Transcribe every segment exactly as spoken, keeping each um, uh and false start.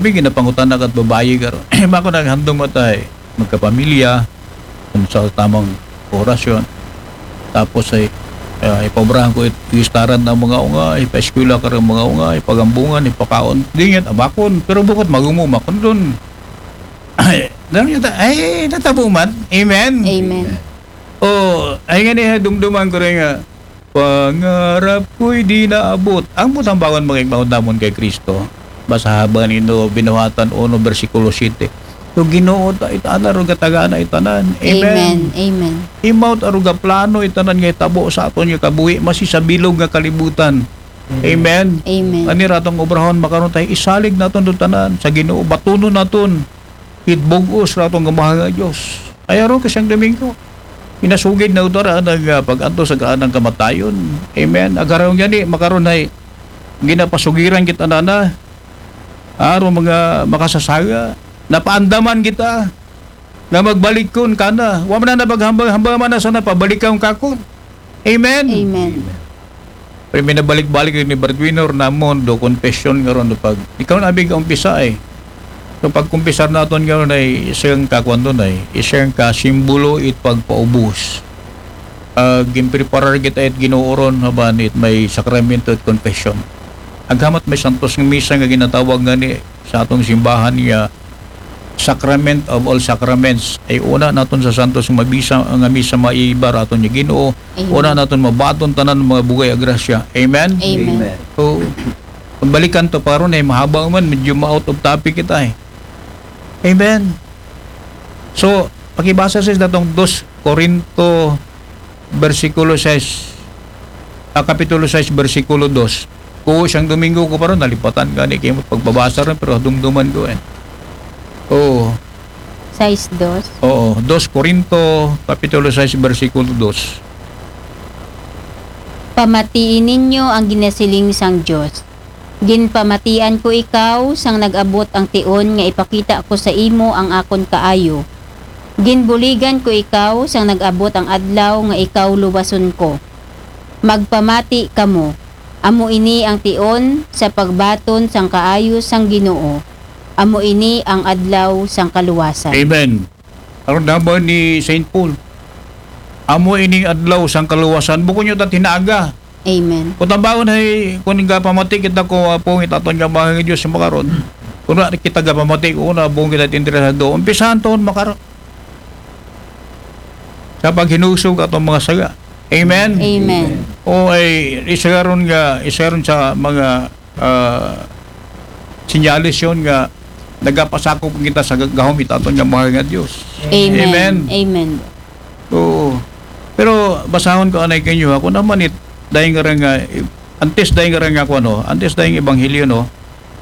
May ginapangutana ka't babayi karon. Bako naghandom matay, magkapamilya, kung sa tamang orasyon. Tapos ay, ah, ipaobrahan ko it gistaran ng mga unga, ipaeskwela ka ng mga unga, ipagambungan, ipakaon. Di nga, abakon. Pero bukod magumo, makundon. Ay, dami yata, ay, natabo man. Amen. Amen. O, ay nga niya, dumduman ko rin nga, pangarap ko'y di naabot. Ang butang bawan mga igmaon namon kay Kristo. Basta haba nino, binuhatan uno, bersikulo siyete. So, Ginoo, ta, itana ro gatagana itanan. Amen. Amen. Amen. Imawt aro ga plano itanan nga itabo sa aton nga kabuhi, masi sa bilog nga kalibutan. Amen. Amen. Ani ratong obrahon makaron tayo, isalig naton do tanan sa Ginoo, batunon naton. Itbugos ratong gamahan nga Dios. Ay aron ka siyang Domingo. Inasugid na utara nag ah, pag-antos sa kaanang kamatayon. Amen. Agaraw nga ni makaron ay ginapasugiran kita nana. Aro mga makasasaga. Napaandaman kita nga magbalik kun kana. Wa man na napaghambang-hambang man na sana pabalik kang kakon. Amen. Amen. Pero minabalik-balik ni breadwinner namon do confession nga ron do pag ikaw na abig umpisa eh. So pagkumpisar naton nga ron ay isang kakuan doon ay isang kasimbolo it pagpaubos. Uh, ginpreparar kita it Ginoo ron haban it may sakramento at confession. Aghamat may santos nga misa nga ginatawag nga ni sa atong simbahan nga Sacrament of all sacraments. Ay una naton sa santos nga mabisa nga misa maibar aton nga Ginoo. Amen. Una naton mabaton tanan mga bugay a grasya. Amen. Amen. So, pagbalikan to paron ay mahaba man, medyo ma-out of topic kita eh. Amen. So, pakibasa sa datong dos Corinto bersikulo sais, ah, kapitulo sais bersikulo dos. Ko siyang Domingo ko paron nalipatan gani kay pagbabasa rin pero dumduman ko eh. Oo. Sais dos. Oo, dos Corinto kapitulo sais bersikulo dos. Pamatii ninyo ang ginasiling sang Dios. Ginpamatian ko ikaw sang nag-abot ang tion nga ipakita ko sa imo ang akon kaayo. Ginbuligan ko ikaw sang nag-abot ang adlaw nga ikaw luwason ko. Magpamati kamo. Amo ini ang tion sa pagbaton sang kaayo sang Ginoo. Amo ini ang adlaw sang kaluwasan. Amen. Aron naman ni Saint Paul. Amo ining adlaw sang kaluwasan. Bukon nyo ta tinaga. Amen. Kung tambaon ay, kung gapamati kita ko, ah, pungit aton nga mga Diyos sa makaron. Kung na kita gapamati ko, una, pungit at interesado. Umpisahan taon makaron. Sa paghinusog atong mga saga. Amen? Amen. O ay, isa ron nga, isa ron sa mga ah, sinyales yon nga nagapasakop kita sa gahom itaton nga mga nga Diyos. Amen. Amen. Amen. Oo. Pero basahon ko anay kanyo ha, kung naman it, dahil nga rin nga, antes dahil nga rin nga kung ano, antes dahil nga ebanghelyo, no,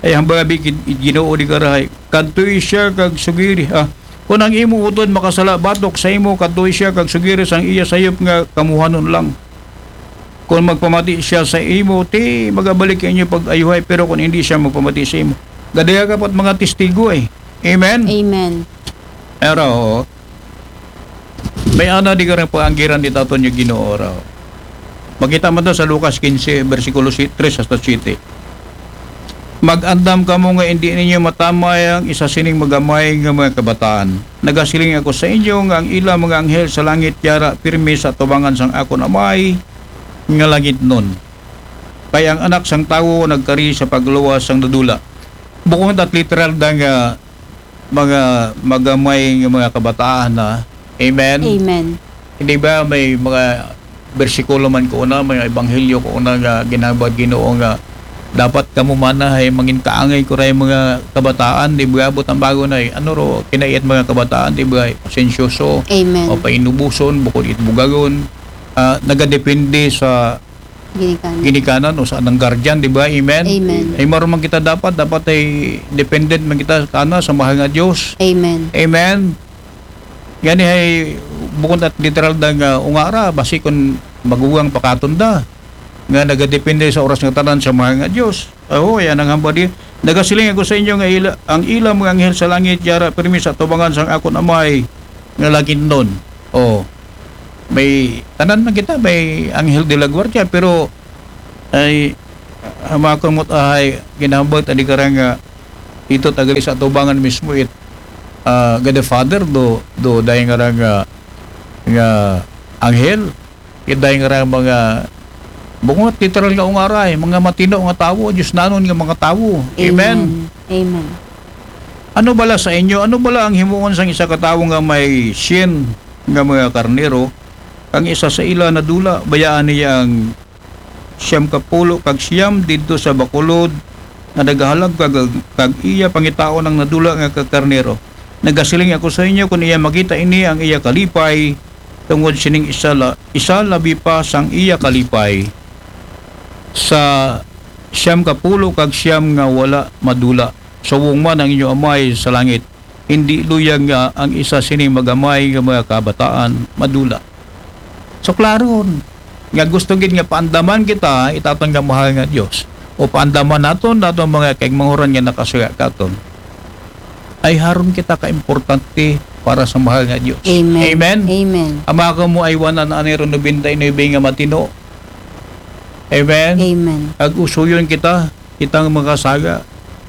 ay hambang abi kid Ginoo di karahay, kadtoy siya kag sugiri, ah, kung ang imo utod makasala batok sa imo, kadtoy siya kag sugiri sang iya sayop nga kamuhanon lang. Kung magpamati siya sa imo, ti magabalik inyo pag-ayuhay, pero kung hindi siya magpamati sa imo, gadaya ka pat mga testigo eh. Amen? Amen. Pero, may ana di ka rin panganggiran ni Taton yung Ginoo raw. Makita mo to sa Lucas quince, versikulo si-, tres hasta siete. Mag-andam kamo nga hindi ninyo matamay ang isa sining magamay nga mga kabataan. Nagasiling ako sa inyo nga ang ila mga anghel sa langit yara pirmi sa tubangan sang akon Amay nga langitnon. Kay ang Anak sang Tawo nagkari sa pagluwas sang nadula. Bukon at literal da nga mga magamay nga mga kabataan na. Amen? Amen. Hindi ba may mga bersikulo man ko una, may ebanghelyo ko una nga ginabad Ginoo nga dapat kamo mana ay mangin kaangay ko ray mga kabataan, di ba? Abot ang bago na eh. Ano ro, kinait mga kabataan, di ba? Pasensyoso, Amen. O painubuson, bukod it bugagon. Ah, nagadepende sa Ginikanan. Ginikanan o sa anang guardian, di ba? Amen? Amen. Ay maruman kita dapat, dapat ay dependent man kita kana sa mahal nga Diyos. Amen. Amen. Gani ay bukod at literal da nga ungara, basi kun magugang pakatunda nga nagadepende sa oras nga tanan sa mahal nga Diyos. Oo, yan ang hamba di. Nagasiling ako sa inyo nga ila, ang ila mga anghel sa langit yara pirmi sa tubangan sang akon Amay nga langitnon. Oh. May tanan man kita, may anghel de la guardia, pero ay hamakon mo't ahay ginahambal ta di ka ra nga Dito tagali sa atubangan mismo it, ah, Godfather do, do dahil nga nga, nga anghel, it dahil nga mga, bungot literal nga ungaray, mga matino nga tawo, Diyos nanon nga mga tawo. Amen. Amen. Amen. Ano bala sa inyo? Ano bala ang himuon sang isa ka tawo nga may sien nga mga karnero, ang isa sa ila nadula, bayaan niya ang siyam ka pulo kag siyam didto sa bakulod nga nagahalag kag, kag iya pangitaon ang nadula nga kakarnero. Nagasiling ako sa inyo, kun iya makita ini ang iya kalipay, tungod sining isa, la, isa labi pa sang iya kalipay sa siyam ka pulo kag siyam nga wala madula. Subong man ang inyo amay sa langit, hindi luyag nga ang isa sining magamay nga mga kabataan madula. So, klaro nga gusto gid nga paandaman kita, itaton nga mahal nga Dios. O paandaman naton, naton mga kaigmanguran nga nakasuya katon. Ay haron kita ka importante para sa mahal nga Dios. Amen. Amen. Amen. Ama ko mo ay wanan ani ron nobenta y nuebe nga matino. Amen. Amen. Ag usuyon kita, kitang mga saga.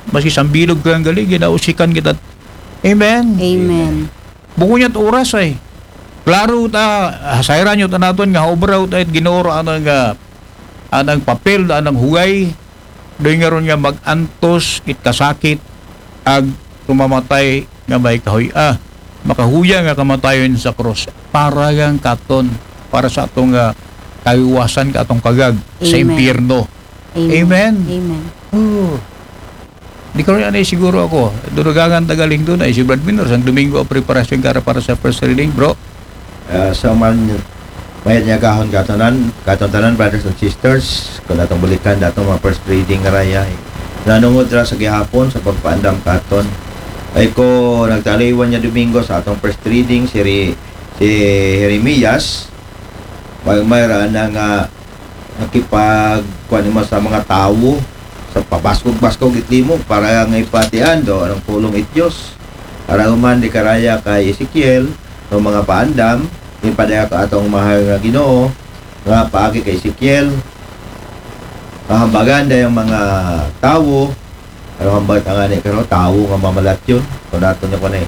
Maski sambilog ka ang gali, ginausikan kita. Amen. Amen. Bukon niya't oras ay. Klaro ta, ah, sayran niyo ta naton nga obra ta it Ginoo ro anang, ah, anang papel, anang hugay. Doy nga ron nga mag-antos it kasakit, ag tumamatay nga may kahuy-, ah, makahuya nga kamatayon sa krus. Para yang katon, para sa atong, ah, kawiwasan ka atong kagag sa Amen. Impyerno. Amen. Amen. Amen. Oh. Di ko rin anay siguro ako. Durugangan tagaling doon ay si Brad Minor. Sang Domingo ang preparasyon kara para sa first reading, bro. Ah, sa man, mayad niya gahon katanan, katong tanan, brothers and sisters, kung atong balikan, datong mga first reading nga raya, eh. Nanungod ra sa gihapon, sa pagpaandam katon. Ay ko, nagtaliwan niya Domingo sa atong first reading, si Re-, si Jeremias, may, may ra na nga nakipag, kuwan mo sa mga tawo, sa pabaskog-baskog itlimo, para nga ipatian do, anong pulong it Diyos. Para human di karaya kay Ezekiel, ng mga paandam, ipadaya ka atong mahal nga Ginoo, nga paagi kay Ezekiel, kahambagan dayang mga tawo, ano hambal ka nga ni, karo, tawo nga mamalatyon? Kung nato niya ko na eh.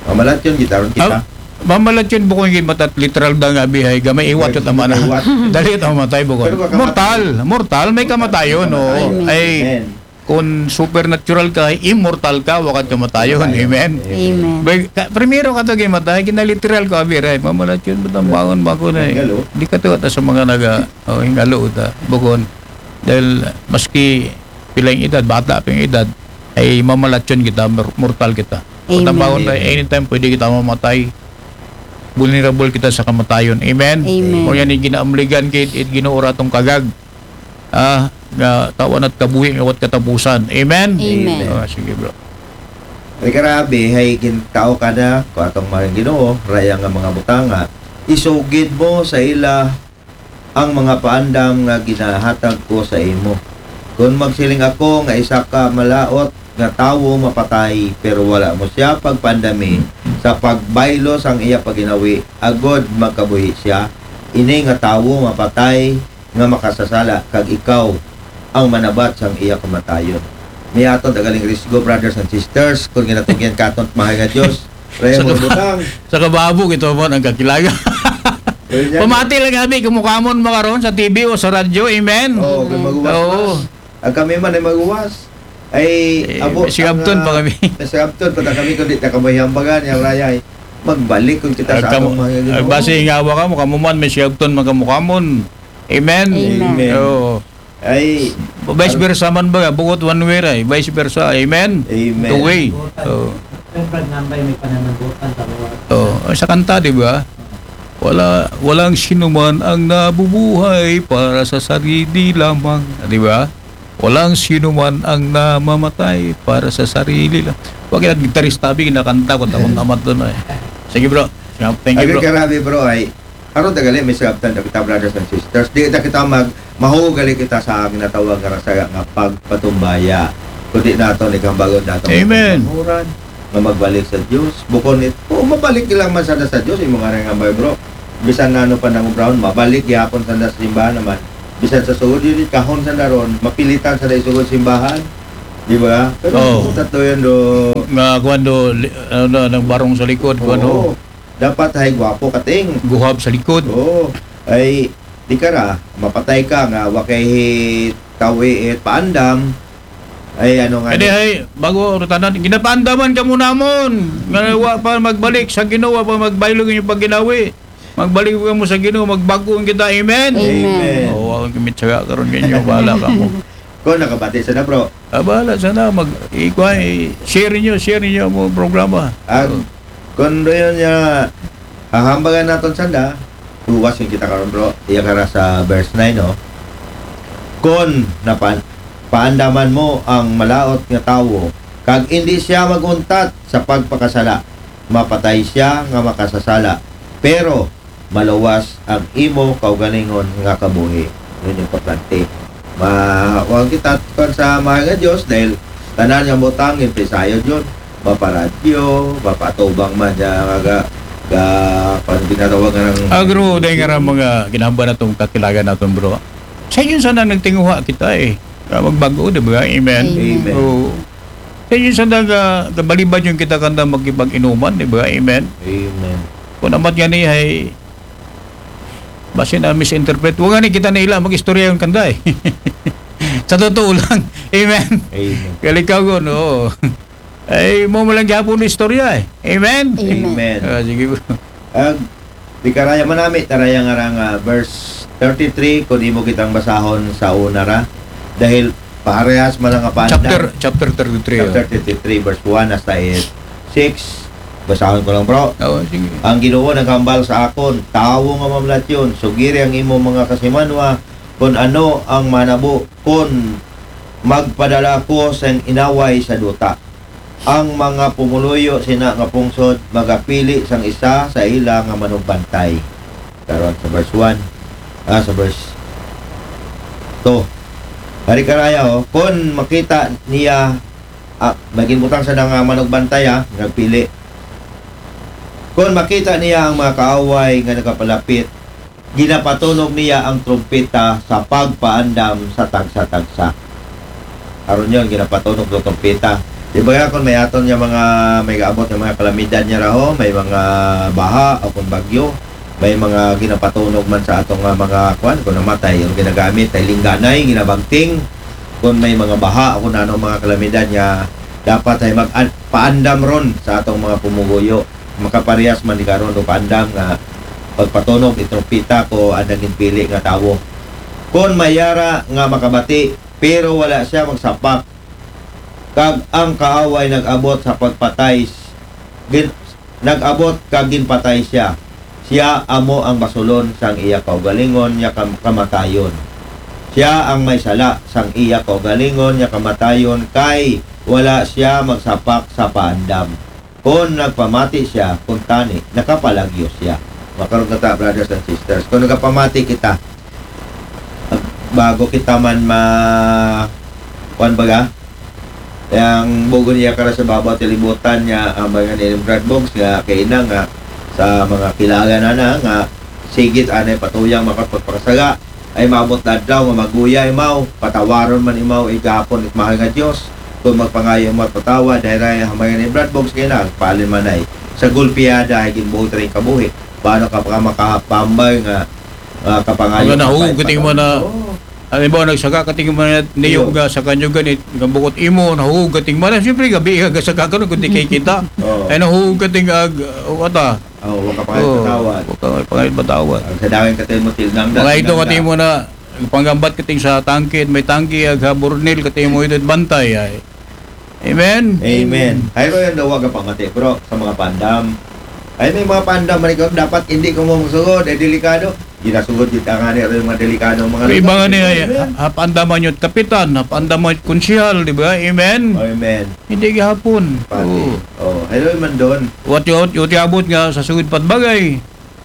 Mamalatyon, gitaron kita. Ah, mamalatyon, bukon yung matat literal da nga bihay, gamay iwat Gamay yung tama na. Iwat. Dali ito mamatay, bukon. Pero kakamatay. Mortal, mortal, may kamatayon, Mortal, no? Kamatayon. Ay, Amen. Kung supernatural ka, immortal ka, wakat kamatayon. Kamatayon. Amen. Amen. Bay, ka, primero ka to gimatay, kinaliteral ko, abi, ray, mamalatyon, ba't ang bangon ba ko na eh? Hingalo. Di ka to, sa mga naga, oh, hingalo, ta, bukon. Dahil, maski pilang edad, bata pang edad, ay mamalatyon kita, mor-, mortal kita. Amen. Kung tambangon tayo, anytime pwede kita mamatay. Vulnerable kita sa kamatayon. Amen? Amen. Kung yan yung ginaamligan kit, it ginuura tong kagag. Ah, nga tawan at kabuhi nga wat katapusan. Amen? Amen. Ah, sige, bro. Ay karabi, hay gintao ka na, kung atong mga Ginoo, raya nga mga butanga, isugid mo sa ila ang mga paandam nga ginahatag ko sa imo. Kun magsiling ako nga isa ka malaot nga tawo mapatay, pero wala mo siya pagpaandami sa pagbaylo sang iya paginawi, agod magkabuhi siya, ini nga tawo mapatay nga makasasala, kag ikaw ang manabat sang iya kamatayon. May aton tagaling risgo, brothers and sisters, kung ginatugyan katon mahal nga Dios, Raya Sa mo kab-, butang. Sa kababog, ito mo ang kakilaga. Well, yan. Pamati lang, abi, kumukamon makaroon sa T V o sa radyo. Amen? Oo, kung maguwas-was. Oo. Ang kami man ay maguwas. Ay, Eh, abo, may sigabton ang, pa ah, kami. May sigabton pa kami, kundi nakabayambagan, yung raya, ay magbalik kung kita Ang sa kamu-, atong mga ang Ginoo. Basi nga awa ka mo, kamu man, may sigabton, magkamukamon. Amen? Amen. Amen. Oo. Ay, vice versa man ba? Bukod one way ra eh. Vice versa. Amen? Amen. Two way. Oo. Siyempre, nambay may pananagutan sa Lord. Oo. Ay, sa kanta, di ba? Wala, walang sinuman ang nabubuhay para sa sarili lamang. Di ba? Walang sinuman ang namamatay para sa sarili lang. Huwag yan, gitarista, abi, kinakanta ko, takot naman doon eh. Sige, bro. Thank you, Agad bro. Karabi, bro, ay, Karon tagali, may sabtan na kita, brothers and sisters. Di na kita mag-, mahugali kita sa ginatawag nga rasa nga pagpatumbaya. Kundi nato, ni kambagon nato, Amen. Nga magbalik sa Dios. Bukon it-, o mabalik lang man sana sa Dios, imo nga rin nga may bro. Bisan na ano pa nang ubrahon, mabalik gihapon sana sa simbahan naman. Bisan sa sugod yun, kahon sana ron, mapilitan sana isugod simbahan. Di ba? Pero Oo. Tatlo yun do. Nga, kuwan do, li-, ano, nang barong sa likod, kuwan, Oo. Dapat hay gwapo kating. Guhap sa likod. Oo. Ay, di ka ra, mapatay ka nga, wa kay tawi it paandam. Ay, ano nga Kaya ni? Hay, bago, rutanan, ginapaandaman ka muna mon. Nga wa pa magbalik sa Ginoo, wa pa magbaylo ang inyong pagginawi. Magbalik ka mo sa Ginoo, magbago kita. Amen? Amen. Amen. Oo, ako kimitsaga karon ninyo, bahala ka mo. Kung nakabati sa na, bro. Ah, bahala sa na, mag, ikuha, i-share ninyo, share ninyo mo programa. Ah, Oo. Kung doon niya, hahambagan naton sanda, tuwas yung kita karon, bro. Iya ka ra sa verse nine, no? Kon napan-, paandaman mo ang malaot nga tawo, kag indi siya maguntat sa pagpakasala, mapatay siya nga makasasala. Pero maluwas ang imo kaugalingon nga kabuhi. Yun yung importante. Ma-, huwag kita kon sa mahal nga Diyos dahil tanan nga butang, yung pisayod yun. Maparadyo, mapatubang man niya, nga ga, ga, kung ginatawag nga ng Agro, dahil nga ra mga ginahamba na itong kakilagan natin, bro. Sa yun sana nagtinguha kita eh. Nga magbago, di ba? Amen? Amen. Amen. Oo. Sa yun sana ga, gabalibad yung kita kanda makipag-inuman, di ba? Amen? Amen. Kung amat nga ni ay, basi na misinterpret. Huwag nga ni kita na ila mag-istorya yung kanda eh. Sa totoo lang. Amen? Amen. Kalikaw ko, no? Ay, mo mo lang gihapon istorya eh. Amen? Amen. Amen. Ah, sige, bro. Ag, di karaya manami, taraya nga ra nga verse thirty-three, kung imo kitang basahon sa una ra. Dahil parehas man ang apanda. Chapter, chapter thirty-three, Chapter oh. thirty-three, verse one hasta it six. Basahon ko lang, bro. Oo, sige. Ang Ginoo naghambal sa akon, "Tawo nga mamlatyon, sugiri ang imo mga kasimanwa, kung ano ang manabo, kung magpadala ko sa inaway sa duta." Ang mga pumuluyo sina nga pungsod magapili sang isa sa ila nga manugbantay. Karon sa verse one, ah, sa verse two. Hari karaya, oh, kun makita niya, ah, may ginbutang sa nga manugbantay, ah, nagpili. Kun makita niya ang mga kaaway nga nagapalapit, ginapatunog niya ang trumpeta sa pagpaandam sa tagsa-tagsa. Aron yon, ginapatunog sa trumpeta. Di ba nga, kung may aton nga mga, may gaabot nga mga kalamidad niya raho, may mga baha o kung bagyo, may mga ginapatunog man sa atong nga mga kwan, kung namatay, yung ginagamit, ay lingganay, ginabagting, kung may mga baha o kung ano mga kalamidad niya, dapat ay mag-, paandam ron sa atong mga pumuguyo. Makaparehas man ni karon og andam nga pagpatunog ni trumpeta ko ang naging pili nga tawo. Kon may ara nga makabati, pero wala siya magsapak, kag ang kaaway nag-abot sa pagpatay, gin-, nag-abot kag ginpatay siya. Siya amo ang basulon sang iya kaugalingon nga kam-, kamatayon. Siya ang may sala sang iya kaugalingon nga kamatayon, kay wala siya magsapak sa paandam. Kon nagpamati siya, kuntani, nakapalagyo siya. Makaron ka ta, brothers and sisters. Kung nagapamati kita, bago kita man ma-, kuwan baga, ang bugo niya kara sa babaw tilibutan niya, ang mga ni Brad Boggs nga, kay ina nga, sa mga kilala na na, nga, sigit anay patuyang makapagpakasala, ay maabot na adlaw nga maguya imaw, patawaron man imaw, igapon it mahal nga Dios. Kung magpangayo mo at patawad, dahil ay hamay ni Brad Boggs kay na, palin man ay, sa gulpiada ay ginbuot rin kabuhi. Paano ka pa makapambay nga, ah, kapangayo Ang ka nahug, pa, kating mo na, Oo. Ano ba, nagsaka kating mo na niyo Iyo. Ga sa kanyo ganit, nga bukot imo, nahug kating mo na, siyempre, gabi, ga sa kakano, kundi kay kita. Oo. Ay, nahug kating ag, uh, wata. Oh, wa ka pangayod Oo, patawad. Wa ka pangayod patawad. Ang sa daging katay mo, til nang Mga ito nang katay mo na, panggambat kating sa tangkid, may tangki, ag ha burnil, katay mo ito, bantay, ay. Amen? Amen. Hayro yan daw, wa ka pamati, bro, sa mga pandam. Ay, may mga pandam, man ikaw, dapat hindi ko mo masugod, ay delikado. Ginasugod, gid ang ani, yung mga delikado, mga May iba nga lugar. Niya, Amen. Ha, ha, pandaman yung kapitan, ha, pandaman yung konsihal, di ba? Amen? Amen. Hindi gihapon. Pati. Oo. Oh, hello, man doon. What you, what you abot nga sa sugod pat bagay.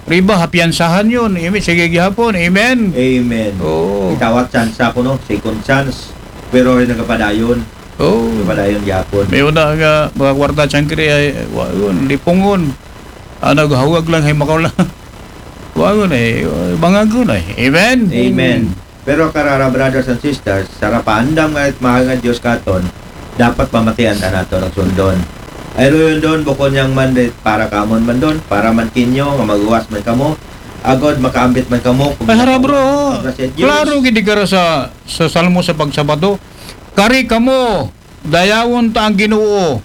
Riba, hapiyansahan yun. Amen. Sige gihapon. Amen. Amen. Oo. Itawat chance ako, no? Second chance. Pero ay nagapadayon. Oo. Nagapadayon gihapon. May una nga, mga kwarta, siyangkiri ay, wa, yun, lipungon. Ano, hawag lang, hay makaw lang. Wa, yun eh. Bangagon eh. Amen? Amen. Pero karara, brothers and sisters, sa rapaandam nga it mahal nga Diyos katon, dapat pamatian ta naton ag sundon. Ay ruyon don, bukon yang man di para kamon man don, para man kinyo, nga maguwas man kamo, agod makaambit man kamo, kung Ay, hara, bro. Pagkasya Diyos. Klaro gid kara sa, sa Salmo sa pagsabato. Kari kamo, dayawon ta ang Ginoo.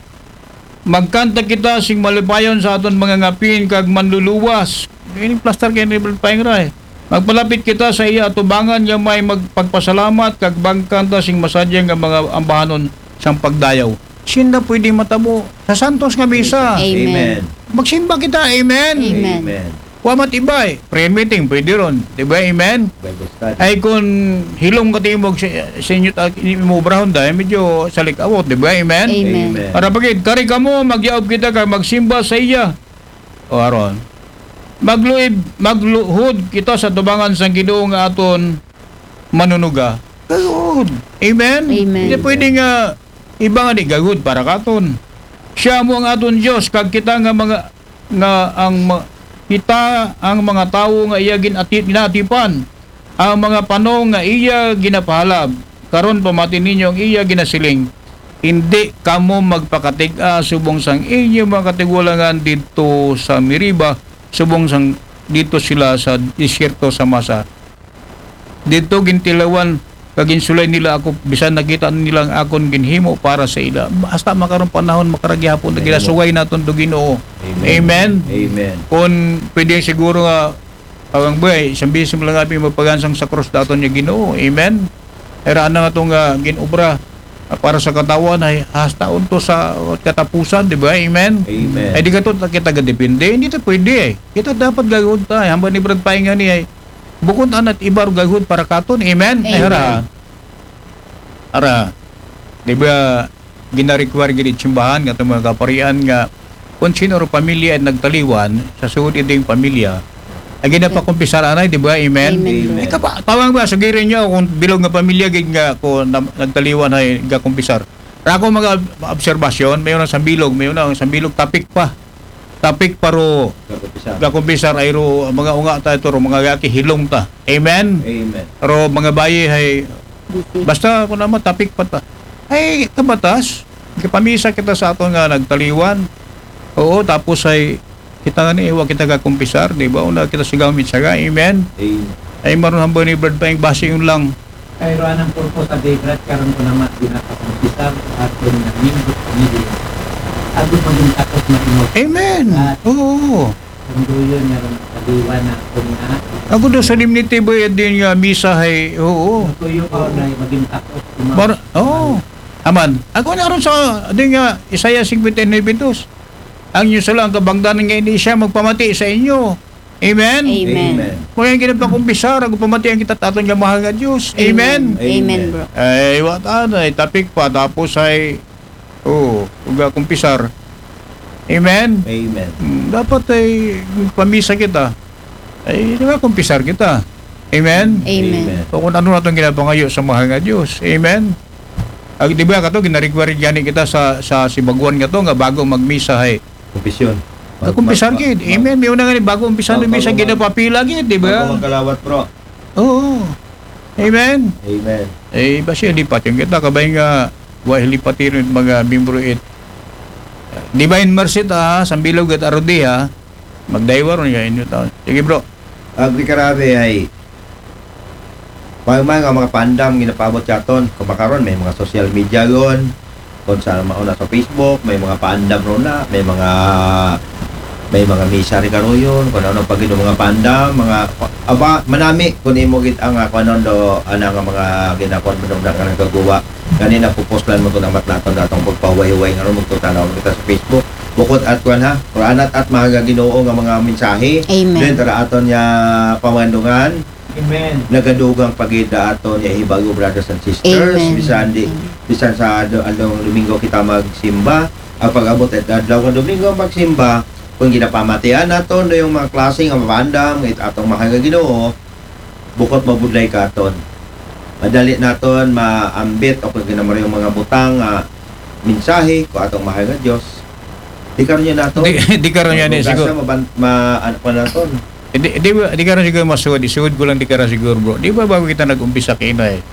Magkanta kita sing malipayon sa aton mga ngapin kag manluluwas. Ini plaster kay ni Brad Paingra, eh. Magpalapit kita sa iya atubangan nga may magpagpasalamat kag magkanta sing masadya nga mga ambahanon sang pagdayaw. Sinda pwede matabo sa santos nga misa. Amen. Amen. Magsimba kita, amen. Amen. Amen. Wa mat iba, eh. Prayer meeting, pwede ron. Di ba? Amen? Bible study. Ay, kung hilong katimog sa, sa inyo, ta-, imo obrahon dahil medyo salikawot, di ba? Amen? Amen. Amen. Para pagid, kari kamo, magyaob kita kag magsimba sa iya. O aron. Magluib, magluhod kita sa tubangan sang Ginoo nga aton manunuga. Gayud. Amen? Amen. Hindi pwede nga iba nga di gayud para katon. Siya mo ang aton Dios, kag kita nga mga, nga ang ma-, kita ang mga tawo nga iya ginati-, ginaatipan, ang mga panong nga iya ginapahalab. Karon pamati ninyo ang iya ginasiling, "Hindi kamo magpakatig-a subong sang inyo mga katigulangan didto sa Meriba, subong sang didto sila sa disyerto sa Masa. Didto gintilawan kag ginsulay nila ako, bisan nakita nila ang akon ginhimo para sa ila." Hasta makaron panahon, makara gihapon na Amen. Ginasugay naton do Ginoo. Amen. Amen. Amen. Kung pwede siguro nga, awang buhay, isang bisis mo lang abi magpagansang sa krus daton niya Ginoo. Amen. Era na nga itong, ah, ginobra, ah, para sa katawan ay hasta unto sa katapusan, di ba? Amen. Amen. Ay di ka to, kita gadepende, hindi to pwede, eh. Kita dapat gagawin tayo. Hamba ni Brad Painga ni ay, bukod anat iba ro gagawin para katon. Amen. Amen. Ay, hara. Ara. Di ba, ginarequire gid it simbahan nga itong mga kaparian nga kung sino ro pamilya ay nagtaliwan, sa sugod iding pamilya, ay ginapakumpisar anay, di ba? Amen? Amen, bro. Amen. Ikapa-, tawag ba, sugirin nyo kung bilog nga pamilya gid nga kung na-, nagtaliwan ay gakumpisar. Ra ako mga ob-, obserbasyon, may unang sambilog, may unang sambilog, topic pa. Topic pa ro, Gakumpisar. Gakumpisar ay ro, mga unga ta ito ro, mga gaki, hilong ta. Amen? Amen. Ro, mga bayi ay, Busy. Basta ako naman, topic pa ta. Ay, kabatas, kapamisa kita sa aton nga nagtaliwan. Oo, tapos ay, kita nga ni, iwa kita gakumpisar, di ba? Una kita sigaw mitsaga, amen? Amen. Ay, maroon hamba ni Brad pa yung base yun lang. Kay Juan ang purpose sa day, Brad, karon ko naman, di na kakumpisar, at yun na, mingot, mingot. Agad maging takot na inot. Amen. At Oo. Ang duyon nga ron, kaliwan na ako nga. Ako do solemnity ba yan din nga misa hay, oo. Ang tuyo pa na maging takot. Mar-, oo. Aman. Ako na ron sa, din nga, Isaiah fifty-nine two. Ang inyo sala ang kabangdanan nga ini siya magpamati sa inyo. Amen? Amen. Amen. Kung yung ginapakumpisar, ang pamatian kita taton nga mahal nga Diyos. Amen? Amen. Amen, bro. Ay, what ano, ay tapik pa, tapos ay, oo, uga kumpisar. Amen? Amen. Hmm, dapat ay pamisa kita. Ay, di ba, kumpisar kita. Amen? Amen. Amen. O kung ano na itong ginapangayo sa mahal nga Diyos. Amen? Ag, di ba, kato, gina-require gani kita sa, sa sibaguan nga to, nga bago magmisa, hay. Kumpisyon. Mag-, kumpisar mag-, gid. Mag-, amen. May una nga ni, bago umpisa mag-, ng misa, mag-, ginapapila gid, di ba? Bago magkalawat, bro. Oo. Amen. Amen. Eh, basi lipat yung kita, kabay nga, wa lipat yung mga membro it. Divine Mercy ta, ha, sambilog at arudi, ha. Magdaywa ron nga inyo taon. Sige, bro. Agri karabi ay, may mga, mga pandam, ginapaabot sa aton. Kung makaron, may mga social media yon. Kung sa mauna sa Facebook, may mga pandam ron na, may mga, may mga misa rin karoon, kung ano pag mga pandam, mga, aba, manami, kung imo gid ang, ah, kung ano do, ana nga mga ginakon mo nung nagagawa. Ganina, pupuslan mo to namat naton, natong pagpahuway-huway nga ron, magtutanaw kita sa Facebook. Bukod at kwan ha, kung anat at mga Ginoo nga mga mensahe, Amen. Then, tara aton niya pamandungan, Amen. Nagadugang pagida ato niya hibago, brothers and sisters. Amen. Bisan di, Amen. Bisan sa do-, adlong Domingo kita magsimba, ang pag-abot at adlaw ng Domingo magsimba, kung ginapamatian nato no yung mga klase nga mabandam, it atong mahal nga Ginoo, bukod mabudlay katon. Madali naton maambit o kung ginamari yung mga butang nga mensahe ko atong mahal nga Diyos. Di karon niya nato. Di, di karon niya ni siguro. Maban-, ma-, ano pa naton. Eh, di, di ba, di ka rin siguro masugod. Isugod ko lang di ka rin siguro, bro. Di ba bago kita nag-umpisa kina eh?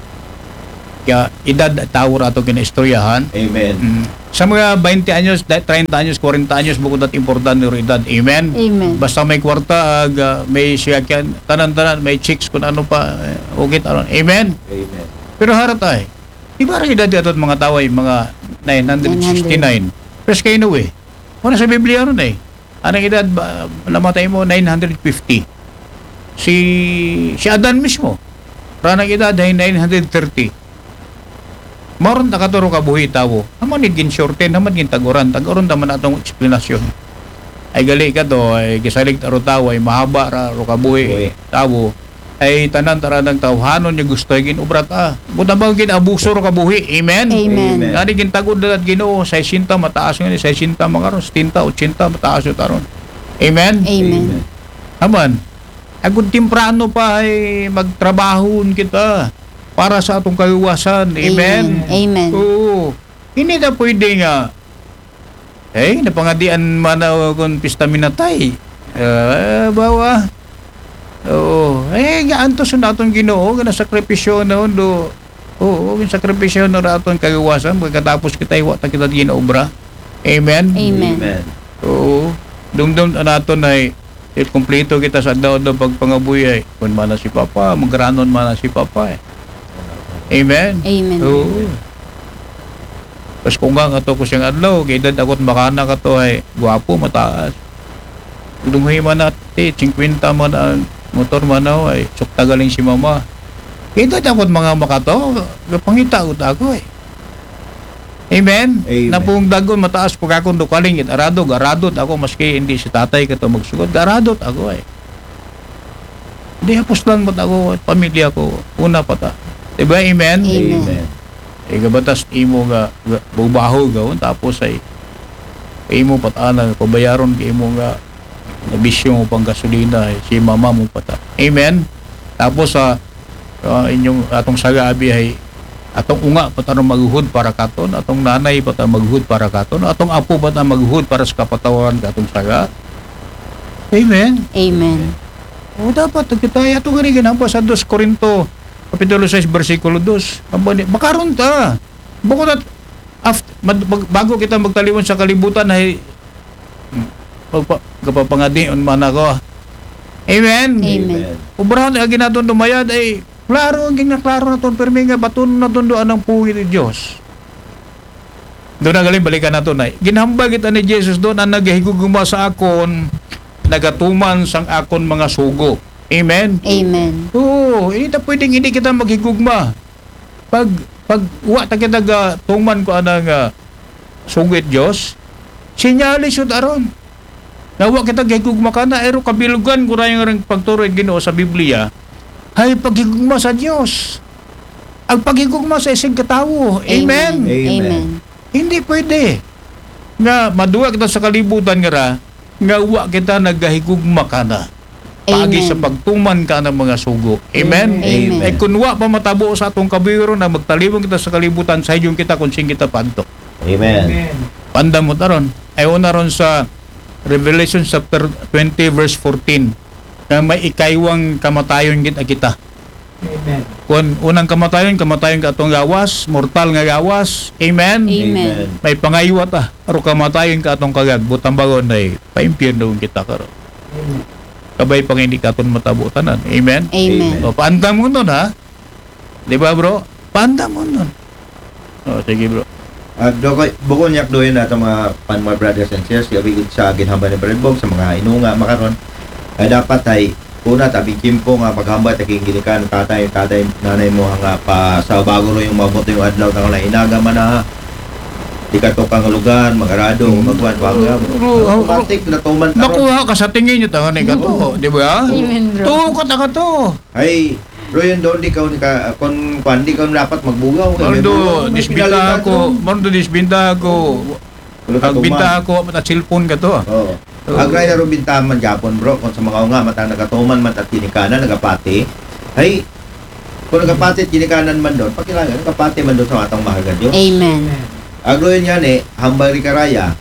Kaya edad tawo ra ato kinaistoryahan. Amen. Mm. Sa mga twenty anyos, da-, treinta anyos, kwarenta anyos, bukod at importante ro edad. Amen? Amen. Basta may kwarta, ag, ah, may siyakyan, tanan-tanan, may chicks, kung ano pa, eh, okay, taron. Amen? Amen. Pero harat ay, di ba ang edad ato mga taway, mga nine hundred sixty-nine? Nine hundred. Pero sa kayo, eh. Ano sa Biblia ron, eh? Anong edad ba, namatay mo? Nine hundred fifty. Si, si Adan mismo, ranang edad ay nine hundred thirty. Maron ta katuro kabuhi tawo. Naman ni ginshorten, naman gintag-uran. Tag-uran naman atong eksplanasyon. Ay gali ka to, ay gisalig ta ro tawo, ay mahaba ra ro kabuhi. Buhi. Tawo. Ay tanan taranang tawhanon niya gusto ay ginobra ta. Buta ba ginabuso ro kabuhi? Amen? Amen. Amen. Ngani gintagod na at Ginoo, sesenta mataas nga ni, sesenta mga ron, setenta, ochenta mataas yun taron. Amen? Amen. Amen. Aman, agud temprano pa ay magtrabahon kita para sa atong kaluwasan. Amen? Amen. Amen. Oo. Hindi na pwede nga, eh, napangadian man ako kung pista minatay. Ah, bawa. Oo. Eh, gaantos na atong Ginoo, nga nasakripisyo na do. Oo, yung sakripisyo na ra atong kaluwasan, pagkatapos kita iwa ta kita ginaobra. Amen? Amen. Amen. Oo. Dumdum naton ay, eh, kumplito kita sa adlaw-adlaw pagpangabuhi ay. Kung mana si Papa, magranon mana si Papa eh. Amen? Amen. Oo. Tapos kung nga nga to ko siyang adlaw, kay edad ako't makana ka to ay gwapo, mataas. Dunghi man na, ti, singkwenta man ang motor man, oh, ay sukta galing si mama. Kay edad ako't mga makato, gapangita ut ako eh. Amen? Amen. Napungdagon, mataas pag akong dukaling, it aradog, aradot ako, maski hindi si tatay ka to magsugod, aradot ako eh. Di hapos lang mo ako, pamilya ko, una pa ta. Diba? Amen? Amen. Amen. Eh, gabatas imo nga, nga bubaho gawon, tapos ay imo patana, pabayaron kay imo nga nabisyo mo pang gasolina, eh, si mama mo pata. Amen? Tapos sa, ah, inyong atong saga abi ay atong unga pa ta maghuhod para katon, atong nanay pa ta maghuhod para katon, atong apo pa ta maghuhod para sa kapatawaran ka atong saga. Amen? Amen. O, dapat kita, ato gani ginampa sa dos Corinto, Kapitulo sais, bersikulo dos. Amo ni, makaron ta. Bukod at, aft-, mag-, mag-, bago kita magtaliwan sa kalibutan, ay, magpa-, kapapangadion man ako. Amen? Amen. Amen. Obrahan ang ginatong dumayad ay, klaro ang ginaklaro naton, pirmi nga baton naton do anang pungit ni Diyos. Doon na galing, balikan nato na. Ginhamba kita ni Jesus doon, ang naghigugma sa akon, nagatuman sang akon mga sugo. Amen? Amen. Oo, hindi ta pwedeng hindi kita maghigugma. Pag, pag wa ta kita ga tuman ko anang, ah, sugo it Diyos, sinyalis yun aron. Nawa kita gigugma ka na, ero kabilugan ko rin yung pagturo ng Ginoo sa Biblia. Ay paghigugma sa Diyos. Ang paghigugma sa isig katawo. Amen. Amen. Amen. Amen. Hindi pwede nga maduwa kita sa kalibutan nga ra, nga wa kita nagahigugma ka na. Paagi Amen. Sa pagtuman ka ng mga sugo. Amen? Amen. Amen. Eh, kung wa pa matabo sa atong kabuhi ron, na magtalibong kita sa kalibutan, sa iyon kita kung sing kita panto. Amen. Amen. Panda mo taron. Ay una ron sa Revelation chapter twenty, verse fourteen, na may ikaywang kamatayon gid kita. Amen. Kun unang kamatayon, kamatayon ka atong gawas, mortal nga gawas. Amen? Amen. Amen. May pangaywa ta, aro kamatayon ka atong kagag, butang bagon ay paimpyerno kita karon. Amen. Kabay pang hindi ka atong matabo tanan. Amen? Amen. Amen. O, paandam mo nun, ha? Di ba, bro? Paandam mo nun. O, sige, bro. Ah, Dokoy, bukon yak doon na itong mga pan, mga brothers and sisters, gabi sa ginhamba ni Brad Bob, sa mga inunga, makaron. Ay dapat ay, una, tabi kimpo nga, paghamba, taking ginikan, tatay, tatay, nanay mo, nga pa, sa bago ro yung mabuti yung adlaw, tang na inaga man na, di ka to kang lugar, magarado, Mm. magwan, pangga. Ro-, ro-, Automatic, natuman, taron. Nakuha ka sa tingin nyo, tangan, ikaw to, Oo. Di ba? Amen, bro. Tuko, taka to. Ay, bro, yun doon, di ka, di ka, kung, kwan, di ka dapat magbugaw. Maroon do, disbinta ako, maroon do, disbinta ako. Wala ka Ang tuman. Binta ako, mata cellphone ka to. Oo. Oo. Agray na ro bintahan man Japon, bro. Kung sa mga nga, matang nagatuman, mata tinikanan, nagapati. Ay, kung nagapati, tinikanan man doon, pakilangan, nagapati man doon sa atang mahal na Diyos. Amen. Agro yun yan eh, hambal ri karaya.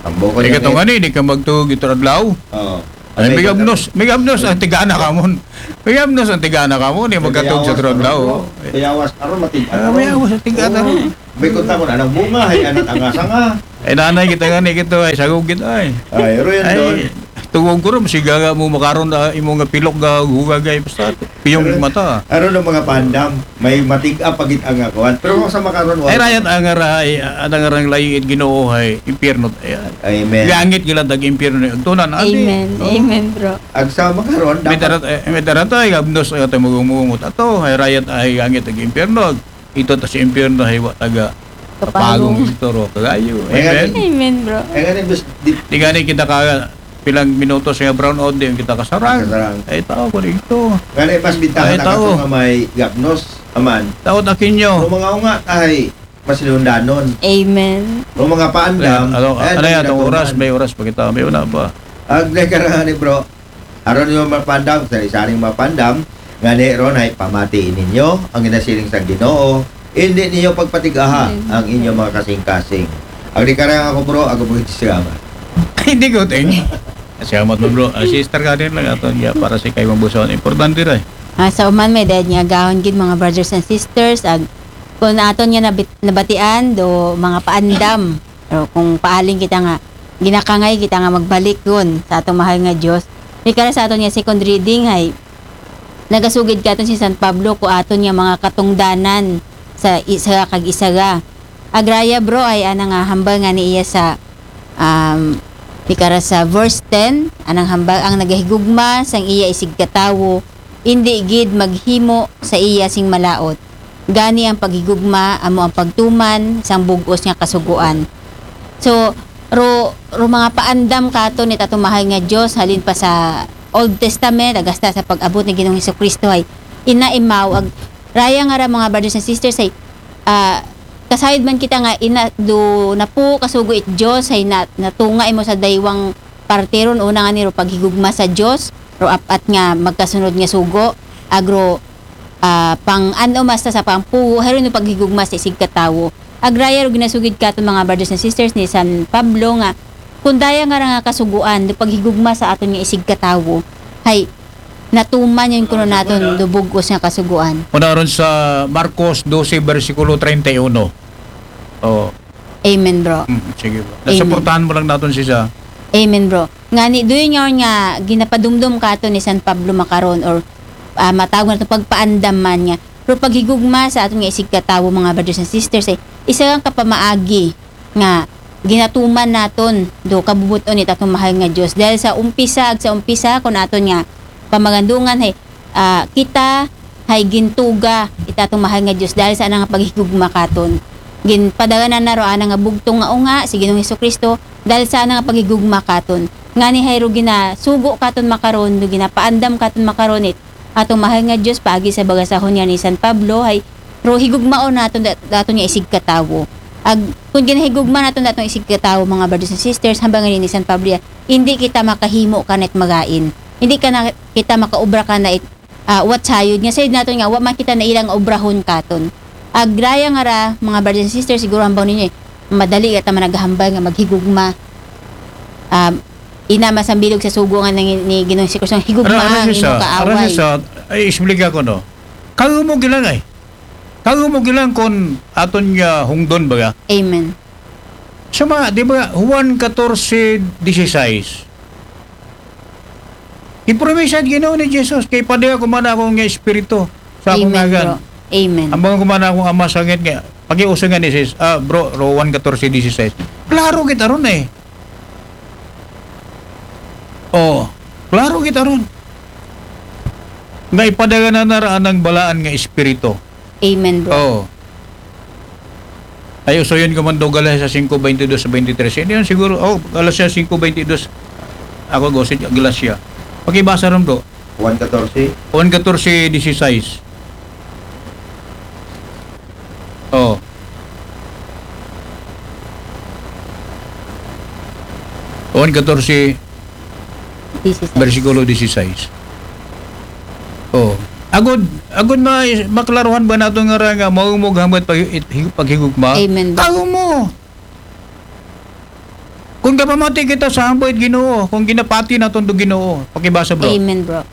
Tambo ko Di yan ka to eh. Nga ni, di ka magtug ito adlaw. Oo. Ay, may gabnos, may gabnos ang tigana kamon. May gabnos ang tigana kamon, eh, magkatog sa tron daw. May awas karon, matig-, Ah, may awas ang tigana ron. May kunta ko na, anang bunga, ay, anat ang asanga. Ay, nanay kita nga ni kita, ay, sagog kita, ay. Ay, ro yan doon. Ay, tungog ko ron, sigaga mo makaron na imo nga pilok ga hugagay, basta piyong mata. Aron ang mga pandam, may matig-a pagit ang akuan. Pero kung sa makaron, Ay, rayat ang ara, ay, ang arang laing it Ginoo, ay, impyerno, ay, Amen. Langit gila dag impyerno ni tunan, adi. Amen. No? Amen, bro. Agsa makaron, May dapat darat, eh, may darat ay gabnos ay atay magungungot ato, ay rayat ay langit ag impyerno. Ito ta sa impyerno ay wa taga Kapagong. Kapagong ito ro kagayo. May Amen. Amen, bro. Ay, nga rin, bes-, di, Di gani kita ka pilang minuto sa brown out, di kita kasarang. Kasarang. Ay, tao ko dito. Nga rin, mas bintahan Ay, na tao. kato nga may gabnos, aman. Tao takin nyo. Kung mga unga, ay, mas lundanon. Amen. Kung mga paandam, Ano, ay, ano yan, itong nagdagoman. Oras, may oras pa kita, may una pa. Ang nagkaraan ni bro, aron yung mapandam, sa isaring mapandam, nga ni ron ay pamatiin ninyo ang ginasiling sa Ginoo, hindi ninyo pagpatigaha Amen. Ang inyong mga kasing-kasing. Ang di karang ako bro, ako bro, ito siya. Hindi ko, ting. Salamat mo, bro. Ah, sister ka din lang ato niya para sa kay Mambusawan. Importante rin. Ah, sa uman may dahil nga agahon gid, mga brothers and sisters, ag kung aton nga nabit, nabatian do mga paandam, o kung paaling kita nga ginakangay kita nga magbalik yun sa atong mahal nga Dios. May kara sa aton nga second reading ay nagasugid katon si San Pablo ko aton nga mga katungdanan sa isa kag isa. Agraya, bro, ay ana nga hambal nga ni iya sa um, ikara sa verse ten, anang hambal ang nagahigugma sang iya isig katawo, indi gid maghimo sa iya sing malaot. Gani ang paghigugma amo ang pagtuman sang bug-os nga kasugoan. So, ro, ro mga paandam kato ni tatong mahal nga Dios halin pa sa Old Testament, agasta sa pag-abot ni Ginoong Hesukristo ay ina imaw ag raya nga ra mga brothers and sisters ay ah, kasayod man kita nga ina do napo kasugo it Dios ay na, natunga imo sa daywang parte ron una nga niro paghigugma sa Dios ro apat nga magkasunod nga sugo agro ah, pang ano masta sa pampugo hayro no paghigugma sa isig katawo agraya ro ginasugid katon mga brothers and sisters ni San Pablo nga kundaya nga ra nga kasuguan do paghigugma sa aton nga isig katawo hay natuman yun kuno naton do bug-os nga kasuguan. Una ron sa Marcos doce, bersikulo treinta y uno. Oh, Amen, bro. mm, sige, bro. Nasuportahan mo lang natin siya. Amen, bro. Ngani, doon nga nga ginapadumdum kato ni San Pablo makaron or ah, matawag na to pagpaandam man nga. Pero paghigugma sa aton nga isig katawo, mga brothers and sisters, ay isa ang kapamaagi nga ginatuman naton do kabubuton ni tatong mahal nga Dios dahil sa umpisa ag sa umpisa kun aton nga pamagandungan hay ah, kita hay gintuga ita atong mahal nga Dios dahil sa ana nga paghigugma katon ginpadaganan na ro ana nga bugtong nga unga si Ginoong Hesukristo dahil sa ana nga paghigugma katon ngani hay ro ginasugo katon makaron do ginapaandam katon makaron it atong mahal nga Dios paagi sa bagasahon nga ni San Pablo hay ro higugmaon naton da- daton nga isig katawo ag kun ginahigugma naton daton isig katawo mga brothers and sisters hambal nga ni San Pablo ya, hindi kita makahimo kanit magain hindi ka na kita makaobra kana it ah, what sayod nga sayod naton nga wa man kita na ilang obrahon katon agraya nga ra mga brothers and sisters siguro hambal ninyo eh, madali ra ta man naghambal nga maghigugma um, ina masambilog sa sugo nga ni, ni Ginoong si Kristo higugma Ara, ara ang siya sa, imong ara kaaway. Siya sa, ay, explica ko, no? Kayo mo gilang ay. Kayo mo gilang kon aton nga hungdon baga. Amen. Sama, di ba, Juan catorce dieciséis. Ipromisa Ginoo ni Jesus kay padala ko man akong nga espiritu sa akong Amen, ngagan. Bro. Amen. Ang mga kumana akong ama sangit nga, pakiusa nga ni sis, ah, bro, ro Juan catorce dieciséis. Klaro kita ron eh. Oh, klaro kita ron. Nga ipadala na naraan ng balaan nga espiritu. Amen, bro. Oh. Ay, usuyon ko man do Galacia cinco veintidós sa veintitrés. Hindi yun siguro. Oh, Galacia cinco veintidós. Ako, go, si Galacia. Pakibasa ron, bro. Juan catorce. Juan catorce dieciséis. Oh. Juan catorce, This is bersikulo dieciséis. Oh. Agod, agod ma, maklaruhan ba nato nga ra nga maumog hambat pag, it- hig- paghigugma? Amen. Tao mo. Kung gapamati kita sa hambal it Ginoo, kung ginapati naton to Ginoo, pakibasa, bro. Amen, bro.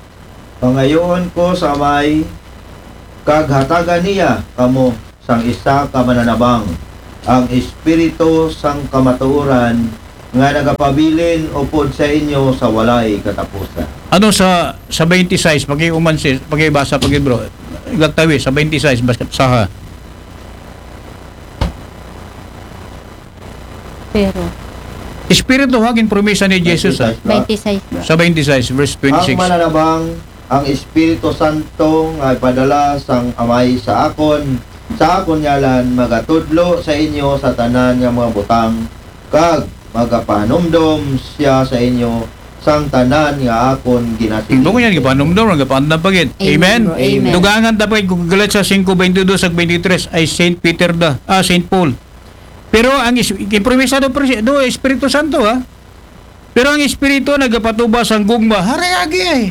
Pangayoon ko sa Amay, kag hatagan niya kamo sang isa ka mananabang, ang Espiritu sang kamatuoran, nga nagapabilin upod sa inyo sa walay katapusan. Ano sa, sa twenty-six, pakiuman sis, pakibasa, paki bro. Gatawi, sa twenty-six, basta saha. Pero Espiritu, ha, ginpromisa ni Jesus, ha? Twenty-six, bro. Sa twenty-six, verse twenty-six. Ang mananabang, ang Espiritu Santo nga ipadala sang Amay sa akon, sa akon ngalan, magatudlo sa inyo sa tanan nga mga butang, kag magapahanumdom siya sa inyo sang tanan nga akon ginasiling. Hindi ko yan, gapahanumdom, gapahanumdom pa gid. Amen, amen, bro. Amen. Dugangan ta pa gid, Galatia singko, baynte dos ag baynte tres, ay Saint Peter da, ah, Saint Paul. Pero ang is-, improvisado, pre-, do Espiritu Santo, ha? Pero ang Espiritu nagapatubas sang gugma, haray agi ay.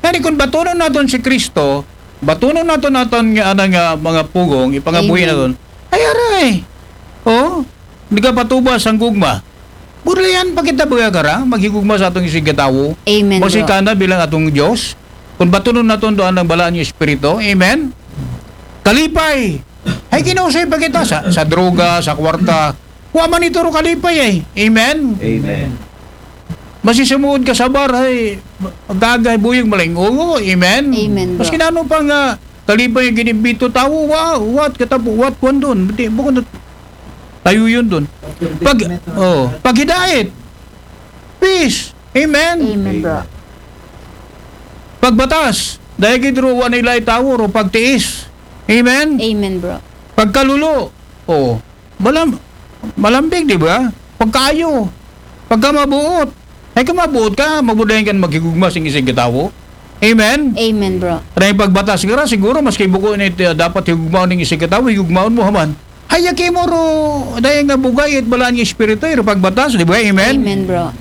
Kani kung batunon naton si Kristo, batunon naton naton nga, ana nga mga pugong, ipangabuhi, amen, naton. Ay, aray. Oh, nagapatubas sang gugma. Burlayan pa kita, baga kara, maghigugma sa atong isigkatawo. Amen, bro. Masikana bilang atong Dios. Kung batunon naton doon ang balaan nga Espiritu. Amen? Kalipay. Ay, kinusoy pa kita sa, sa droga, sa kwarta. Wa man ito ro kalipay ay. Amen? Amen. Masisumuod ka sa bar, ay, gagay, buyog, maling ulo. Amen? Amen, bro. Maski na ano pa nga, kalipay ang ginimbito, tawo, wa, what, katapo, what, kwan doon. Di, bukod na, tayo yun doon. Pag, oh, paghidait. Peace. Amen? Amen, bro. Pagbatas. Dahil gid ro, wa nila itawo ro, pagtiis. Amen? Amen, bro. Pagkalulo. Oh. Malam-, malambing, di ba? Pagkaayo. Pagkamabuot. Ay, kamabuot ka, mabudayan ka na maghigugma sing isig katawo. Amen? Amen, bro. Dahil pagbatas ka ra, siguro, maski buko ni, uh, dapat higugma ning isig katawo, higugmaon mo haman. Ay, yaki mo ro, dahil nga bugay, it balaan nga espiritu, iro pagbatas, di ba? Amen? Amen, bro.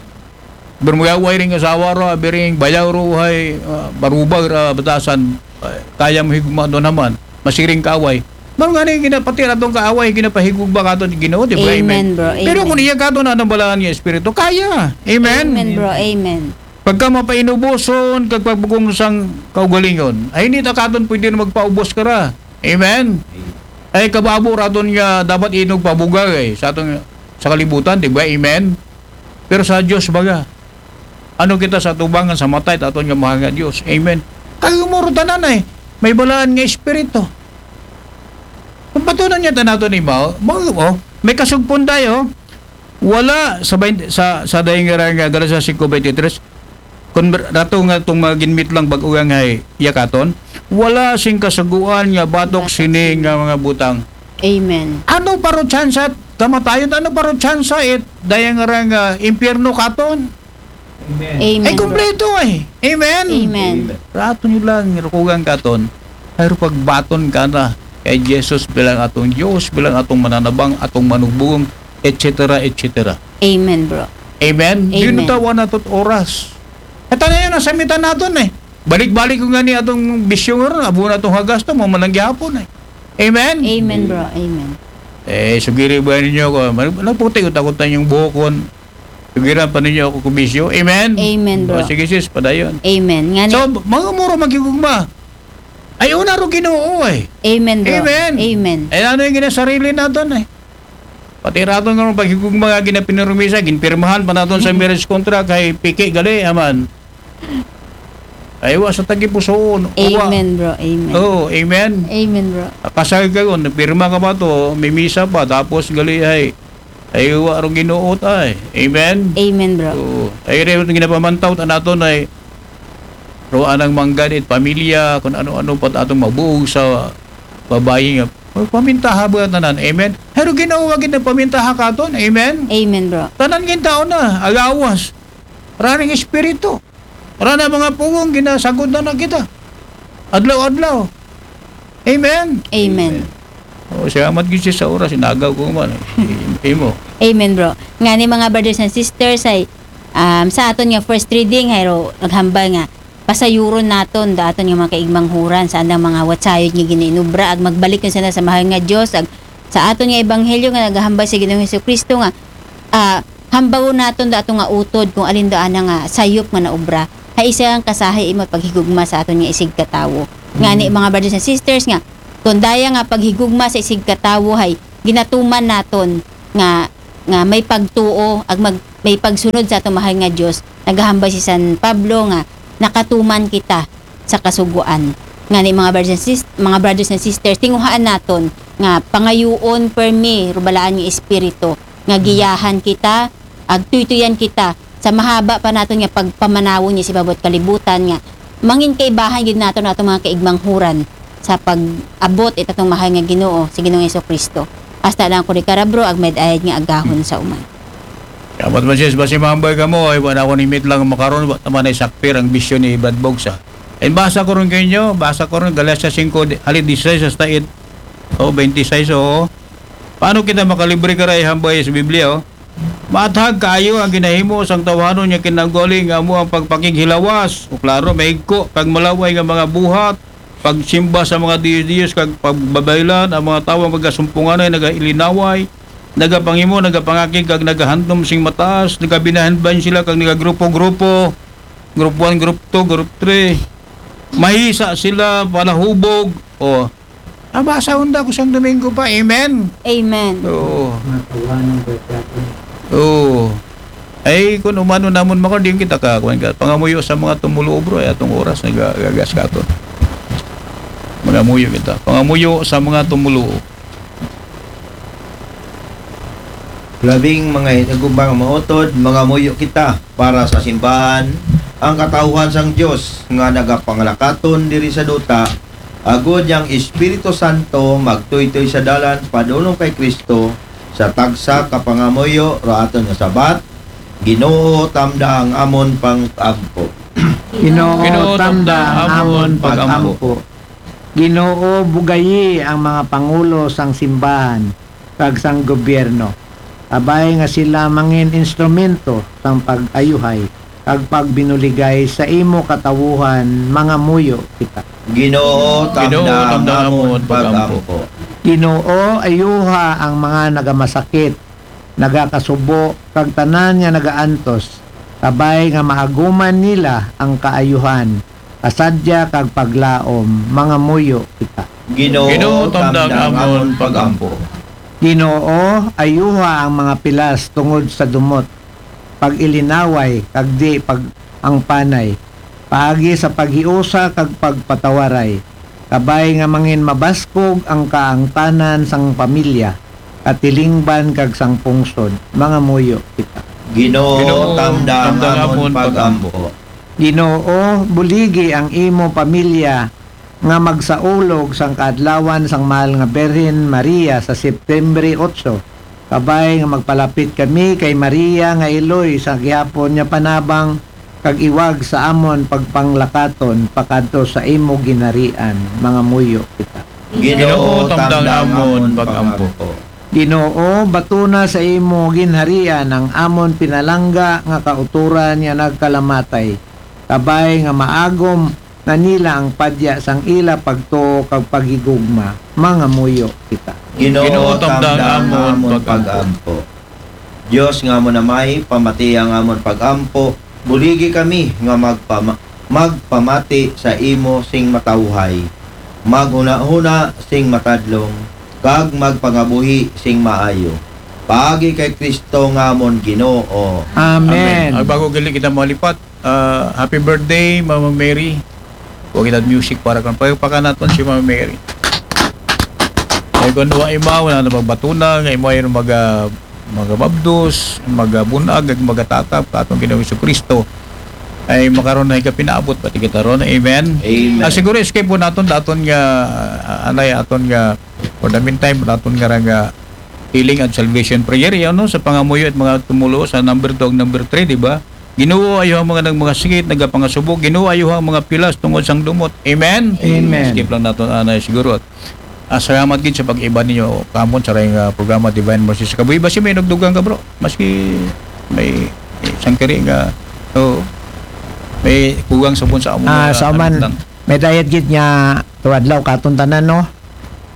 Bermuyaway ring asawa ro, abiring bayaw ro, hay, ah, barubag ra batasan, ah, kaya mo higugma doon naman, masiring kaaway. Mano nga ni ginapati atong kaaway, ginapahigugma katon Ginoo, di ba? Amen, amen, bro. Pero amen, kung iya katon, anong balaan nga espiritu? Kaya. Amen? Amen, bro. Amen. Pagka mapainuboson, kag pagbugong sang kaugalingon. Ay, hindi ta katon pwede na magpaubos ka ra. Amen? Ay, kababo raton nga dapat inog pabuga, eh, sa atong, sa kalibutan, di ba? Amen? Pero sa Dios, baga, ano kita sa tubangan sa matay, ta aton nga mahal nga Dios. Amen. Kayo mo ro tanan ay, may balaan nga espiritu. Kung patunan niya tanato ni Mao, Mao, oh, may kasugpon tayo. Wala sa bain-, sa, sa dayng nga, nga Galacia singko baynte tres, kung rato nga itong mga ginmit lang bag-o nga hay yakaton, wala sing kasaguan nga batok sini nga mga butang. Amen. Ano pa ro tsansa kamatayon? Ano pa ro tsansa it dayng nga, nga impyerno katon? Amen. Amen, ay, bro. Kompleto ay. Amen. Amen. Amen. Rato nyo lang, rukugan katon. Pero pagbaton ka na kay Jesus bilang atong Dios, bilang atong mananabang, atong manugbugong, et cetera, et cetera. Amen, bro. Amen? Amen. Yun tawa na tot oras. At ano yun, nasamitan naton eh. Balik-balik ko nga ni atong bisyo nga ron, abo na atong hagas to, mamanang gihapon eh. Amen? Amen, bro. Amen. Eh, sugiri ba ninyo ko? Nagputi ko takot na yung buhok ko. Sugiran pa ninyo ako kubisyo. Amen? Amen, bro. O, sige, sis, padayon. Amen. Nga ni- So, mga muro maghigugma. Ay, una ro Ginoo, eh. Amen, bro. Amen. Amen. Ay, ano yung ginasarili naton, eh? Pati raton nga paghigugma nga ginapinirmisan, ginpirmahan pa naton sa marriage contract, kay piki, gali, aman. Ay, wa sa tagipusoon. Wa. Amen, bro. Amen. Oo, amen. Amen, bro. Kasal ka ron, pirma ka pa to, may misa pa, tapos gali ay, ay, wa ro Ginoo ta ay. Amen? Amen, bro. Oo. Ay, rin, ginapamantaw, ta naton ay, ro anang mangganit, pamilya, kung ano-ano pa atong mabuog sa babayi nga. Pamintaha ba tanan? Amen? Pero Ginoo, wa gid na pamintaha katon. Amen? Amen, bro. Tanan gid taon na, agawas. Raning espiritu. Rana mga pugong, ginasagod na na kita. Adlaw-adlaw. Amen? Amen. O, salamat gid siya sa oras, inagaw ko man. I-, imo. Amen, bro. Nga ni mga brothers and sisters, ay, um, sa aton nga first reading, hay ro, naghambal nga, pasayuron naton, da aton nga mga kaigmanghuran, sa andang mga watsayod nga ginainubra, ag magbalik na sana sa mahal nga Dios, ag sa aton nga ebanghelyo nga nagahambal sa Ginoong Hesukristo nga, ah, hambawon naton dato nga utod kung alin do ana nga sayop nga naobra. Hay isa nga kasahi imo paghigugma sa aton nga isigkatawo. Ngani, mga brothers and sisters, nga kun daya nga paghigugma sa isigkatawo hay ginatuman naton nga, nga may pagtuo ag mag, may pagsunod sa aton mahal nga Dios, nagahambal si San Pablo nga nakatuman kita sa kasugoan. Ngani, mga brothers and sis-, mga brothers and sisters, tinguhaan naton nga pangayuon permi rubalaan nga espiritu nga giyahan kita, agtuytuyan kita sa mahaba pa naton nga pagpamanawon nga si babot kalibutan nga mangin kaibahan gid naton atong mga kaigmanghuran sa pag-abot it atong mahal nga Ginoo, si Ginoong Jesucristo. Hasta lang ko ni karabro, ag may ayad nga agahon sa uman. Kamat man sis, basi mahambal kamo, ay wala ko ni mit lang makaron, wa naman ay sakpir ang bisyo ni Brad Bogsa. Ay basa ko rin kayo, basa ko rin, Galacia singko, di- halid disisais hasta it, oh, twenty-six, oh. Paano kita makalibre ka rin hambal sa Biblia, oh? Maathag kaayo ang ginahimo sang tawhanon nga kinaugali nga amo ang pagpakighilawas, o klaro, mahigko, kag malaway nga mga buhat, pagsimba sa mga diyos-diyos, kag pagbabaylan, ang mga tawo ang nagasumpunganay, nagailinaway, nagapangimo, nagapangakig, kag nagahandom sing mataas, nagabinahanban sila, kag nagagrupo-grupo, group one, group two, group three. Mahisa sila, palahubog, o, nabasa hunda ko sang Domingo pa. Amen. Amen. Oo. Matawanan ba siya? Oo. Ay, kung umano namon maka, di kita ka, kuwan ka. Pangamuyo sa mga tumuluo, bro, ay atong oras, nagagas ka to. Mangamuyo kita. Pangamuyo sa mga tumuluo. Labing mga hinagumang mautod, mangamuyo kita para sa simbahan, ang katawhan sang Dios nga nagapanglakaton diri sa duta, agud yang Espiritu Santo magtuytoy sa dalan padulong kay Kristo sa tagsa ka pangamuyo ro aton nga sabat. Ginoo, tamda ang amon pang-ampo. Ginoo, Ginoo, tamda tamda ang ang amon amon pag-ampo. pag-ampo. Ginoo, bugayi ang mga pangulo sang simbahan kag sang gobyerno. Abay nga sila mangin instrumento sang pag-ayuhay kag pagbinuligay sa imo katawuhan, mangamuyo kita. Ginoo, Ginoo, tamda tamda ang amon amon pag-ampo. pag-ampo. Ginoo, ayuha ang mga nagamasakit, nagakasubo, kag tanan nga nagaantos, kabay nga maaguman nila ang kaayuhan, kasadya kag paglaom, mangamuyo kita. Ginoo, Ginoo, tamda ang amon pag-ampo. Ginoo, ayuha ang mga pilas tungod sa dumot, pag-ilinaway, kag di pag-angpanay, paagi sa paghiusa kag pagpatawaray, kabay nga mangin mabaskog ang kaangtanan sang pamilya, katilingban kag sang pungsod, mangamuyo kita. Ginoo, Ginoo, tamda ang tamda ang amon amon pag-ampo. Ginoo, buligi ang imo pamilya nga magsaulog sang kaadlawan sang mahal nga Birhen Maria sa September otso, kabay nga magpalapit kami kay Maria nga iloy sa gihapon nga panabang kag iwag sa amon pagpanglakaton pakadto sa imo ginharian, mangamuyo kita. Ginoo, tamda ang amon pag-ampo. Ginoo, batuna sa imo ginharian ang amon pinalangga nga kautoran nga nagkalamatay, kabay nga maagom na nila ang padya sang ila pagtuo kag paghigugma, mangamuyo kita. Ginoo, Ginoo, tamda ang amon pag-ampo. Dios nga amon Amay, pamati ang amon pag-ampo, buligi kami nga magpama-, magpamati sa imo sing matawhay, maghunahuna sing matadlong, kag magpangabuhi sing maayo. Paagi kay Kristo nga amon Ginoo. Amen. Amen. Ay, bago gali kita malipat, ah, happy birthday, Mama Mary. Huwag kita music para kan pagpakanaton si Mama Mary. Ay, kung wa imaw na nabagbatuna, nga imo ay maga, magababdos, magabunag, ag magatatap, katong Ginoong Jesucristo. Ay, makaroon na ikapinaabot, pati kita ron. Amen? Amen. Ah, siguro, escape po naton, daton nga, ah, anay, aton nga, for the meantime, daton nga, nga, healing and salvation prayer, yan, no? Sa pangamuyo at mga tumulo sa number two ug number three, di ba? Ginoo, ayo ang mga nagmagasakit, nagapangasubo. Ginoo, ayo ang mga pilas tungod sang dumot. Amen? Amen. Skip lang naton, anay, siguro. At, ah, salamat gid sa pag-iba ninyo, kamon sa rayong, ah, programa Divine Mercy sa Kabuhi. Basi may nagdugang ka, bro. Maski may isang kari nga, oh, may kugang sa pun sa amon Ah, nga sa uman, lang. May dayat gid nga tuwadlaw katon tanan, no?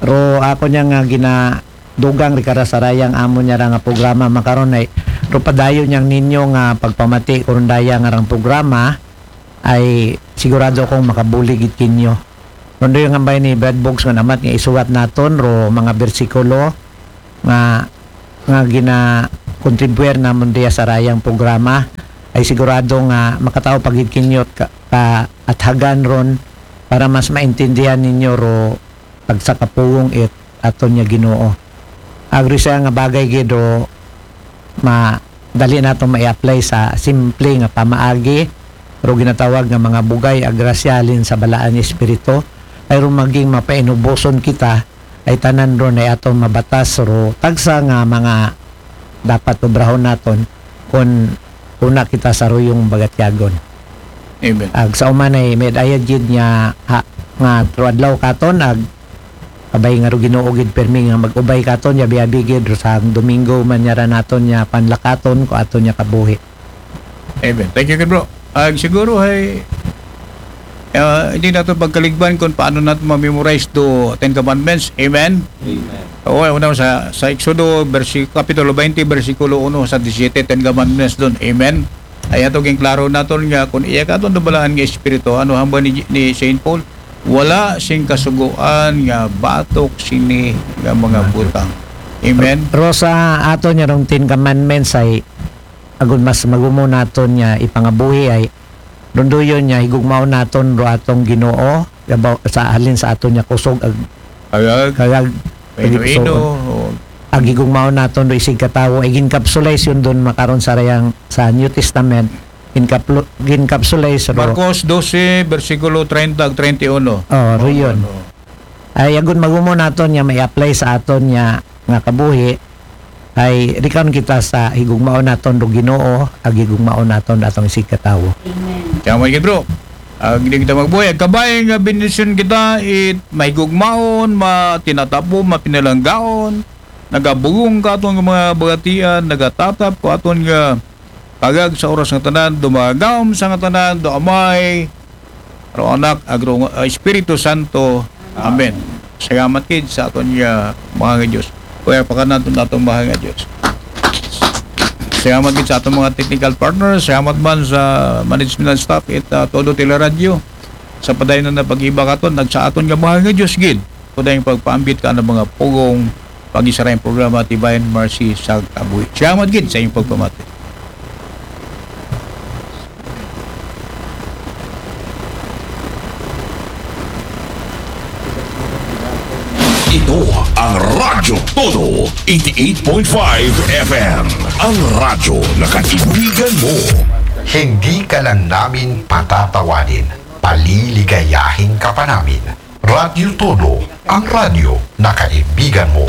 Ro ako niya nga gina-, dugang ri kara sa rayang amon niya ra nga programa makaron ay Pero padayon niyang ninyo nga pagpamati karon daya nga rang programa ay sigurado kong makabulig gid kinyo. Ron dayon nga bay ni Brad Books nga namat nga isuwat naton ro mga bersikulo nga nga gina contribuer namon diya sa rayang programa ay sigurado nga makatao pa gid kinyo ka, ka athagan ron para mas maintindihan ninyo ro tagsa ka pulong it aton niya Ginoo. Agri siya nga bagay gid ro ma dali nato ma-apply sa simple nga pamaagi ro ginatawag nga mga bugay a grasya halin sa balaan nga espiritu ay ro maging mapainuboson kita ay tanan ron ay aton mabatas ro tagsa nga mga dapat obrahon naton kun una kita sa ruyong bagatyagon. Amen. Ag sa umanay may ayad gid nga ha, nga tro adlaw katon ag kabay nga ro Ginoo gid permi nga mag-ubay katon yabi-abi gid ro sa Domingo man niya ra naton niya panlakaton ko aton niya kabuhi. Amen. Thank you, bro. Ag siguro ay ah, hindi nato pagkaligban kung paano nato ma-memorize do Ten Commandments. Amen. Amen. Oo, una sa sa Exodo versi kapitulo twenty, bersikulo uno sa disiyete, Ten Commandments doon. Amen. Ay ato ging klaro naton nga kung iya katon do balaan nga espiritu, ano hamba ni, ni Saint Paul, wala sing kasuguan nga batok sini nga mga butang. Amen. Ro sa aton niya rong Ten Commandments ay agon mas magumo naton niya ipangabuhi ay dunduyon niya higugmaon naton ro atong Ginoo yabaw sa halin sa aton niya kusog ag Kagag, kagag ino-ino. ag higugmaon naton ro isig katawo ay ginkapsulize yun dun makaron sa rayang sa New Testament ginkaplo ginkapsulize ro Marcos doce, bersikulo treinta ag treinta y uno. Oh, ro yun. Ano? Ay agon magumo naton niya may apply sa aton niya nga kabuhi ay rikaon kita sa higugmaon naton ro Ginoo ag higugmaon naton atong isig katawo. Kaya mo bro. Ag di kita magbuhay, ag kabay nga bendisyon kita, it mahigugmaon, matinatapo, mapinalanggaon, nagabugong ka aton nga mga bagatian, nagatatap ko aton nga kagag sa oras nga tanan, dumagam sa nga tanan, do Amay, ro Anak, ag ro uh, Espiritu Santo. Amen. Salamat kid sa aton nga mga nga Diyos. Kuya, pakanaton naton mga nga Diyos. Salamat gid sa aton mga technical partners, salamat man sa management staff it uh, todo teleradyo sa padayon na pag-iba katon nag sa aton nga mahal nga Diyos gid. Kuday pagpaambit ka ng mga pugong pag-isara yung programa Divine Mercy sa Kabuhi. Salamat gid sa inyong pagpamati. Ito ang Radyo Todo, eighty-eight point five F M. Ang radyo na kaibigan mo. Hindi ka lang namin patatawanin, paliligayahin ka pa namin. Radyo Todo, ang radyo na kaibigan mo.